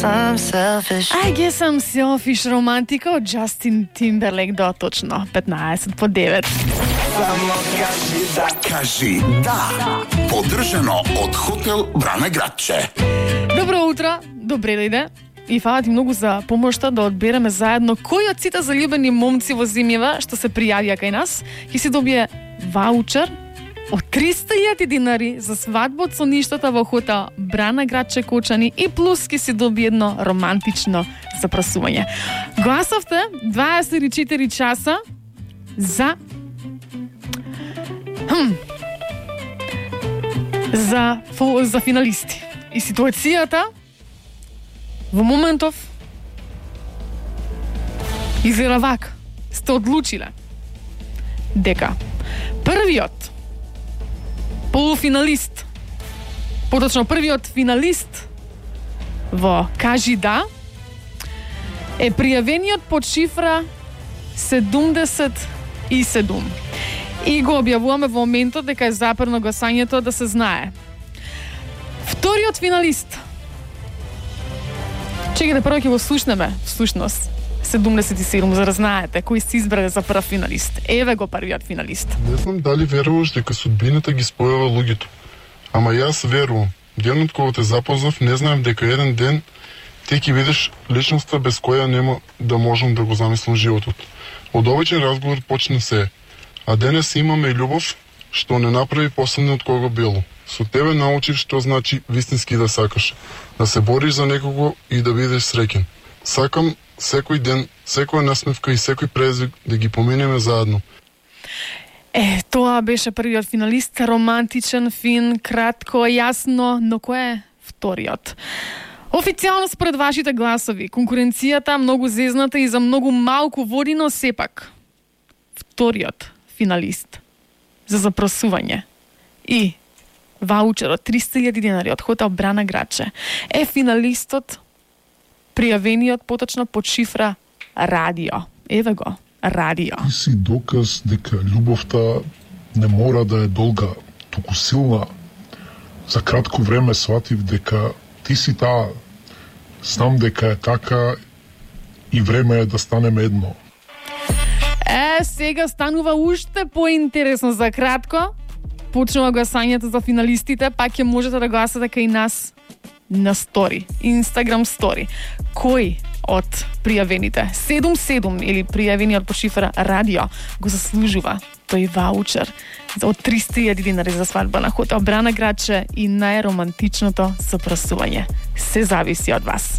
I'm selfish. I guess I'm selfish романтика од Джастин Тимберлейк до точно 15 по 9. Само кажи да. Поддржано од хотел Брана Градче. Добро утро, добре дојде. И фала ти многу за помошта да одбереме заедно кој од сите заљубени момци во земјава што се пријавија кај нас ќе си добие ваучер од 300.000 динари за свадба од соништата во хотел Брана Градче Кочани и плюс ќе си добие едно романтично запрасување. Гласовте 24 часа за за финалисти. И ситуацијата во моментов изгледа вака. Сте одлучиле дека првиот полуфиналист, поточно првиот финалист во Кажи да е пријавениот под шифра 77. И го објавуваме во моментот дека е запрено гласањето, да се знае. Вториот финалист. Чекайте, прво ќе го слушнеме, всушност, 77, за да знаете кој се избрале за прв финалист. Еве го првиот финалист. Не знам дали веруваш дека судбината ги спојува луѓето. Ама јас верувам. Денот кога те запознав, не знаев дека еден ден ти ќе видиш личноста без која нема да можам да го замислам животот. Од обичен разговор почна се. А денес имаме и љубов што не направи последниот кого било. Со тебе научив што значи вистински да сакаш, да се бориш за некого и да бидеш среќен. Сакам секој ден, секоја насмевка и секој презвик да ги поминеме заедно. Тоа беше првиот финалист, романтичен, фин, кратко, јасно, но кој е вториот? Официјално според вашите гласови, конкуренцијата многу зезната и за многу малку води, но сепак вториот финалист за запрасување и ваучер од 300.000 динари од хотел Брана Градче е финалистот пријавениот поточно под шифра Радио. Еве го, Радио. Ти си доказ дека љубовта не мора да е долга, туку силна. За кратко време сватив дека ти си таа. Знам дека е така и време е да станеме едно. Сега станува уште поинтересно. За кратко почнува гласањето за финалистите, пак ќе можете да гласате кај нас на стори, Инстаграм стори. Кој од пријавените 77 или пријавениот по шифра Радио го заслужува тој ваучер од 300.000 динари за свадба на хотел Брана Градче и најромантичното запрасување? Се зависи од вас.